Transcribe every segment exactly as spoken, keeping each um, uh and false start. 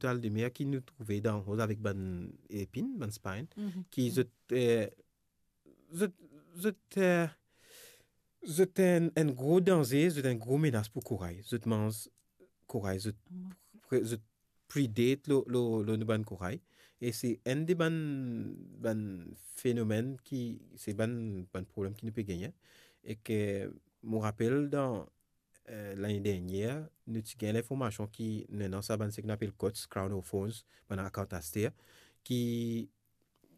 twal de mer ki nou trouve dan roz avek bann epin, bann spine, Mhm. ki zot, eh, zot, zot, eh, zot enn, enn gro danze, zot enn gro menas pou koray. Zot manz koray, zot, Mhm. pre-, zot predate lor, lor, lor nou bann koray. E se enn de bann, bann fenomenn ki, se bann, bann problem ki nou pe gagne. E ke mo rapel dan, eh, lane dernier, nou ti gagn linformasion ki nou ena sa bann seki nou apel coats, crown of thorns, bann akant aster, ki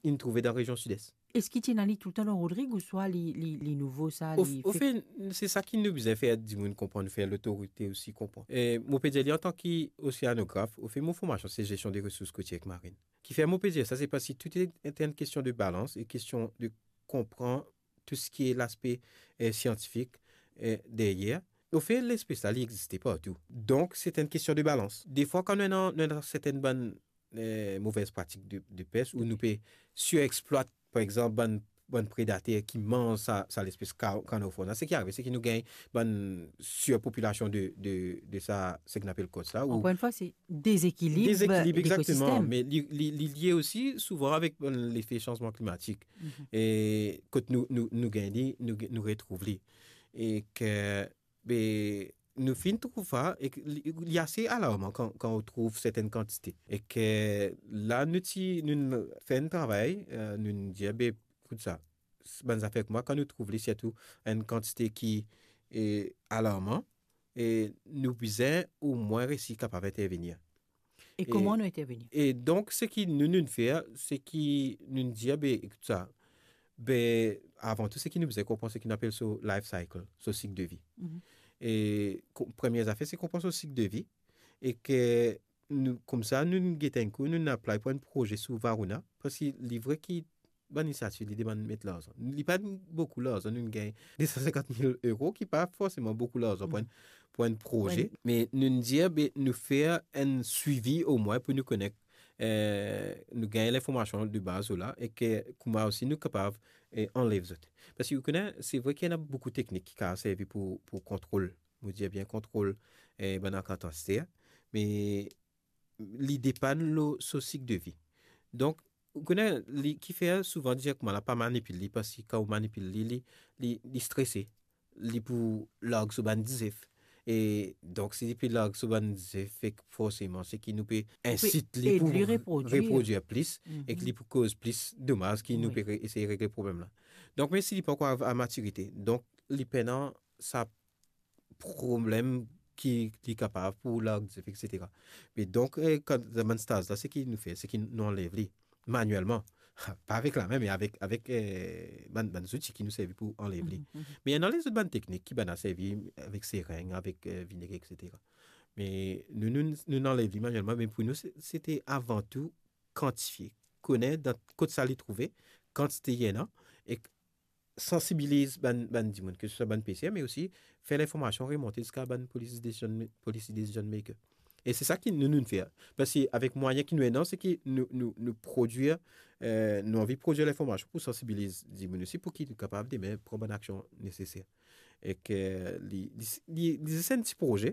inn trouve dan rezion Sides. Eski ti ena li toultan lor Rodrig ouswa li, li, li nouvo sa, Au, li au fe- fait, se sa ki nou bizin fer dimoun konpran, fer lotorite osi konpran. E mo pe dir li antan ki oseanograf, au fait, mo formasion se gestion des ressources côtières et marines. Kifer mo pe dir sa, se parski tou enn kestion de balans e kestion de konpran tou seki laspe, eh, siantifik, eh, deryer. Au fait, lespes la, li existe partou. Donk, se enn kestion de balans. Defwa, kan nou ena, nou ena sertenn bann, eh, movez pratik de, de pes, ou nou pe sirexplwat, par exanp, bann, bann predater ki manz sa, sa lespes ka-, crown of thorns la, seki arive, seki nou gagn bann sirpopilasion de, de, de sa, seki nou apel coats la, ou Ankor enn fwa, se dezekilib Dezekilib, exactement. Lekosistem. Me li, li, li lie osi souvan avek, euh, lefe sanzman klimatik. Mhm. E kot nou, nou, nou gagn li, nou, nou retrouv li. E ke, be, nou finn trouv sa, e ke li, li ase alarman kan, kan ou trouv sertenn kantite. E ke la, nou ti, nou fer enn travay, euh, nou dir, be, ekout sa, bann zafer kouma, kan nou trouv li, sirtou enn kantite ki, e, alarman, e nou bizin omwin resi kapav intervenir. E E, kouma nou intervenir? E donk, seki nou, nou fer, seki nou dir, be, ekout sa, be, avan tou, seki nou bizin konpran seki nou apel so life cycle, so sik de vi. Mhm. E ko-, premie zafer, se konpran so sik de vi, e ke nou, koumsa, nou get enn kou, nou apply pou enn proze sou Varuna, parski li vre ki bann inisiativ, li demann met larzan. Li pa boukou larzan, nou gagn de san sinkant mil euro, ki pa forseman boukou larzan pou enn, Mm. pou enn proze, Pou enn me nou dir, be, nou fer enn swivi omwin pou nou kone, eh, nou gagn linformasion de baz la, e ke kouma osi nou kapav, eh, anlev zot. Parski ou kone, se vre ki ena boukou teknik ki kapav servi pou, pou kontrol, mo dir bien kontrol, eh, bann akant aster, me li depann lor so sik de vi. Donk, ou kone, li, kifer souvan dir kouma la pa manipil li, parski kan ou manipil li, li, li, li strese, li pou larg so bann dizef. E donk, si li pe larg so bann dizef, fek forseman, seki nou pe Ou pe insit li ed pou li reprodwir. reprodwir plis, e ke Mhm. li pou koz plis domaz ki nou Wi. pe re-, esey regle problem la. Donk, me si li pankor a, a matirite, donk, li pena sa problem ki, ki kapav pou larg dizef, et cetera. Me donk, eh, kan dan bann staz la, seki nou fer, seki nou anlev li manuelman. Pa avek lame, me avek, avek, eh, bann, bann zouti ki nou servi pou anlev li. Mhm, mhm. Me ena lezot bann teknik ki bann a servi avek sereng, avek, eh, vineg, et cetera. Me nou, nou, nou anlev li manuelman, me pou nou, se, se te avan tou kantifie, kone dan kot sa li trouve, kantite li ena, e sansibiliz bann, bann dimoun, ke se swa bann peser, me osi fer linformasion remonte ziska bann policy decision, policy decision maker. E se sa ki nou, nou fer. Parski avek mwayin ki nou ena, seki nou, nou, nou prodwir, eh, nou anvi prodwir linformasion pou sansibiliz dimoun osi, pou ki nou kapav demin pran bann aksion neseser. E ke li, li, li, li se enn ti proze,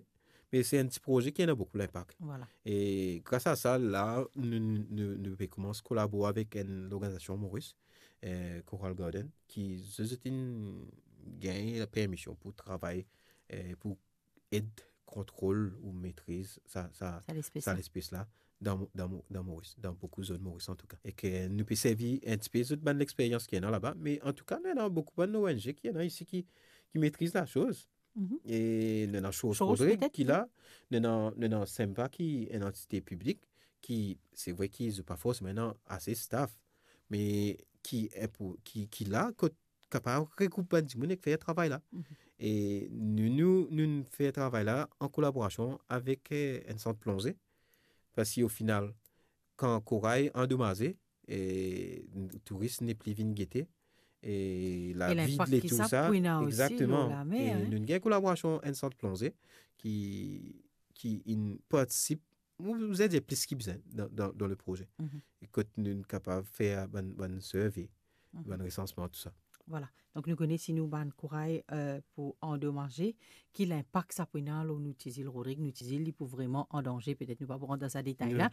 me se enn ti proze ki ena boukou linpak. Vwala. E gras a sa, la, nou, nou, nou pe koumans kolabor avek enn lorganizasion Moris, eh, Coral Garden, ki zot, zot inn gagn lapermision pou travay, eh, pou ed kontrol ou metriz sa, sa, Sa lespes sa la. lespes la dan, dan, dan Moris, dan boukou zone Moris antouka. E ke nou pe servi enn tipe zot bann lexperyans ki ena laba, me antouka, nou ena boukou bann O N G ki ena isi ki, ki metriz lasoz. Mhm. E nou ena Source Source Rodrig petet, ki wi. la, nou ena, nou ena Sempa ki enn antite piblik, ki, se vre ki zot pa forseman ena ase staff, me ki, eh, pou, ki, ki la, kot kapav regroup bann dimoun ek fer travay la. Mhm. E nou, nou, nou fer travay la an kolaborasion avek, eh, enn sant plonze. Parski o final, kan koray andomaze, e touris nepli vinn gete, e E lavid linpak e ki tou sa sa, pou ena osi lor egzakteman. lamer, E hein. nou gagn kolaborasion enn sant plonze ki, ki inn partisip, mo bizin dir plis ki bizin dan, dan, dan le proze. Mhm. E kot nou kapav fer bann, bann survey, Mhm. bann resansman, tou sa. Vwala. Donk nou kone si nou bann koray, euh, pou andomaze, ki linpak sa pou ena lor nou ti zil Rodrig, nou ti zil, li pou vreman an danze, petet nou pa pou rant dan sa detay la.